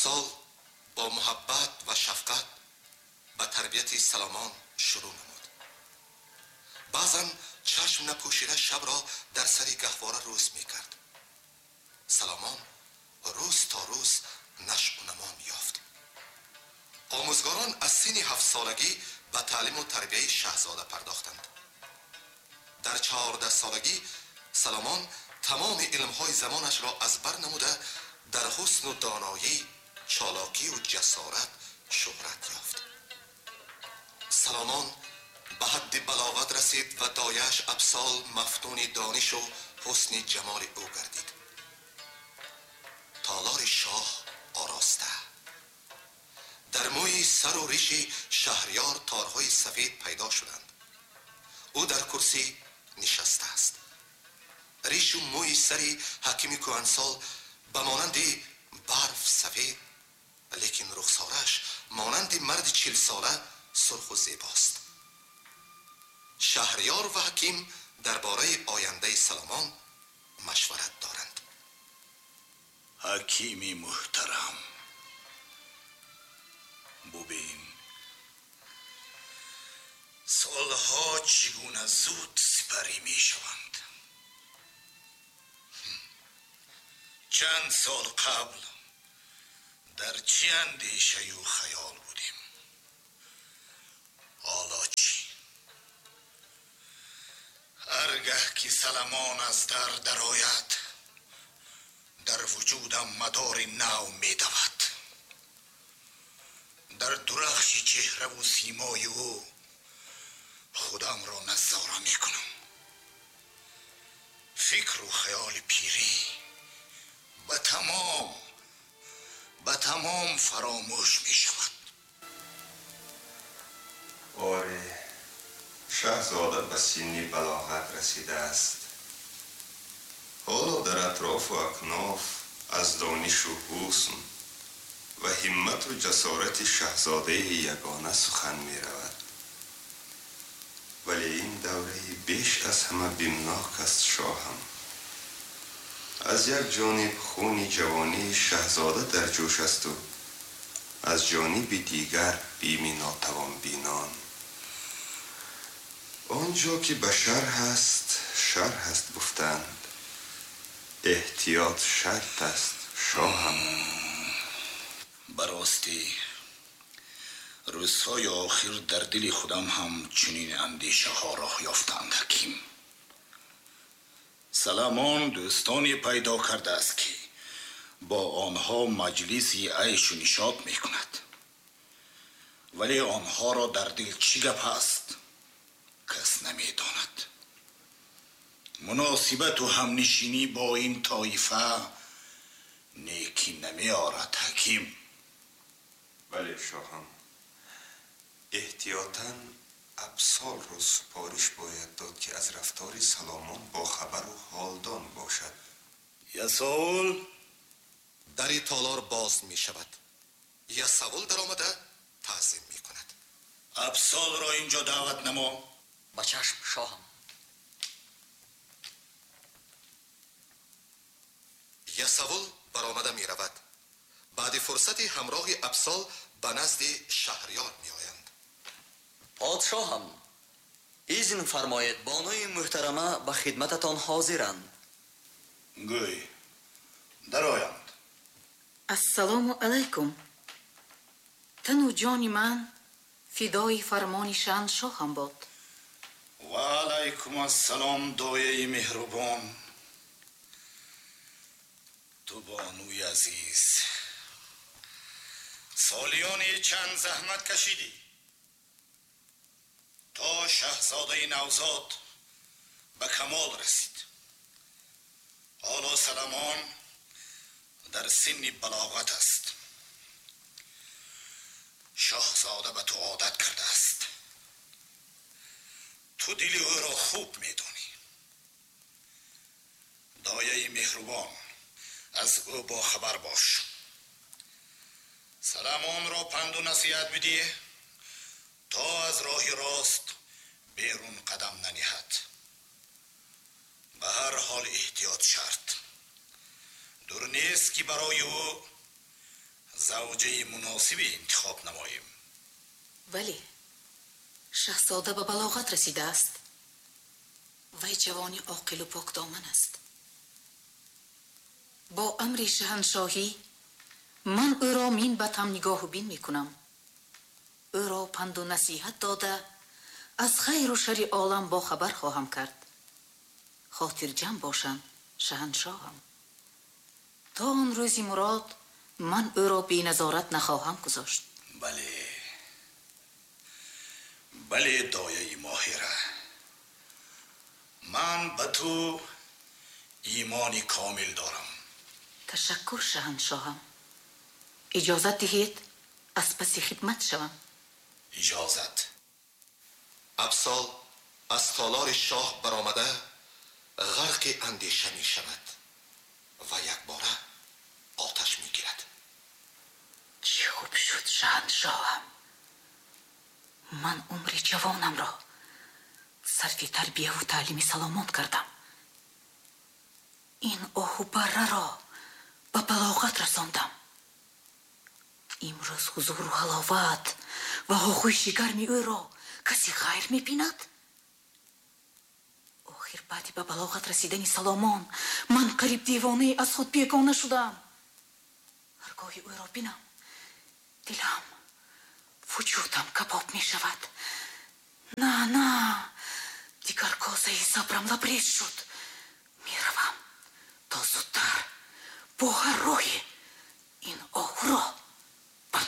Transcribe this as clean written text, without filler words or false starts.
Абсол бо муҳаббат ва шафқат ба тарбияти Саломон шурӯъ намуд. Баъзан чашм напӯшида шабро дар сари гаҳвора рӯз мекард. Саломон рӯз то рӯз нашъу намо меёфт. Омӯзгорон аз синни 7-солагӣ ба таълиму тарбияи шаҳзода пардохтанд. Дар 14-солагӣ Саломон тамоми илмҳои замонашро аз бар намуда дар ҳусну доноӣ, чолокию ҷасорат шӯҳрат ёфт. Саломон ба ҳадди балоғат расид ва дояш Абсол мафтуни донишу ҳусни ҷамоли ӯ гардид. Толори шоҳ ороста. Дар мӯи сару риши шаҳриёр торҳои сафед пайдо шуданд. Ӯ дар курсӣ нишастааст. Ришу мӯи сари ҳакими кӯҳансол ба монанди барф сафед, лекин рухсораш монанди марди 40-сола сурху зебост. Шаҳриёр ва ҳаким дар бораи ояндаи Саломон машварат доранд. Ҳакими муҳтарам, бубин, солҳо чӣ гуна зуд сипарӣ мешаванд. Чанд сол қабл дар чӣ андешаю хаёл будем, ҳоло чӣ? Ҳаргаҳ ки Саломон аз дар дарояд, дар вуҷудам мадори нав медавад. Дар дурахши чеҳраву симои ӯ худамро назора мекунам. Фикру хаёли пирӣ ба тамом фаромӯш мешавад. Оре, шаҳзода ба синни балоғат расидааст. Ҳоло дар атрофу акноф аз донишу ҳусн ва ҳиммату ҷасорати шаҳзодаи ягона сухан меравад. Вале ин давраи беш аз ҳама бимнок аст, шоҳам. Аз як ҷониб хуни ҷавонии шаҳзода дар ҷӯш асту аз ҷониби дигар бими нотавонбинон. Он ҷо ки башар ҳаст, шар ҳаст гуфтанд. Эҳтиёт шарт аст, шоҳам. Ба ростӣ рӯзҳои охир дар дили худам ҳам чунин андешаҳо роҳ ёфтанд, ҳаким. Саломон дӯстоне пайдо кардааст, ки бо онҳо маҷлиси айшу нишот мекунад. Вале онҳоро дар дил чӣ гап ҳаст, кас намедонад. Муносибату ҳамнишинӣ бо ин тоифа некӣ намеорад, ҳаким. Бале, шоҳам. Эҳтиётан Абсолро супориш бояд дод, ки аз рафтори Саломон бохабару ҳолдон бошад. Ясовул. Дари толор боз мешавад. Ясовул даромада таъзим мекунад. Абсолро инҷо даъват намо. Ба чашм, шоҳам. Ясовул баромада меравад. Баъди фурсати ҳамроҳи Абсол ба назди шаҳриёр меоянд. Подшоҳам, изн фармоед, бонуи муҳтарама ба хидмататон ҳозиранд. Гӯй, дароянд. Ассалому алайкум. Тану ҷони ман фидои фармони шоҳам бод. Ва алайкум ассалом, дояи меҳрубон. Ту бонуи азиз, солиёни чанд заҳмат кашидӣ то шаҳзодаи навзод ба камол расид. Ҳоло Саломон дар синни балоғат аст. Шоҳзода ба ту одат кардааст. Ту дили ӯро хуб медонӣ. Дояи меҳрубон, аз ӯ бохабар бош. Саломонро панду насиҳат бидиҳ то аз роҳи рост берун қадам наниҳад. Ба ҳар ҳол эҳтиёт шарт. Дур нест, ки барои ӯ завҷаи муносибе интихоб намоем. Бале, шаҳзода ба балоғат расидааст. Вай ҷавони оқилу покдоман аст. Бо амри шаҳаншоҳӣ ман ӯро минбаъд ҳам нигоҳу бин мекунам. Ӯро панду насиҳат дода, аз хайру шарри олам бохабар хоҳам кард. Хотирҷамъ бошанд, шаҳаншоҳам. То он рӯзи мурод ман ӯро беназорат нахоҳам гузошт. Бале, бале, дояи Моҳира, ман ба ту имони комил дорам. Ташаккур, шаҳаншоҳам. Иҷозат диҳед аз паси хидмат шавам. Иҷозат. Абсол аз толори шоҳ баромада ғарқи андеша мешавад ва якбора оташ мегирад. Чӣ хуб шуд, шаҳаншоҳам. Ман умри ҷавонамро сарфи тарбияву таълими Саломон кардам. Ин оҳу барраро ба балоғат расондам. Имрӯз ҳузуру ҳаловат ва оғӯши гарми ӯро каси ғайр мебинад? Охир баъди ба балоғат расидани Саломон ман қариб девонае аз худ бегона шудам. Ҳаргоҳи ӯро бинам, дилам, вуҷудам кабоб мешавад. На, на, дигар косаи сабрам лабрез шуд. Меравам то зудтар бо ҳар роҳе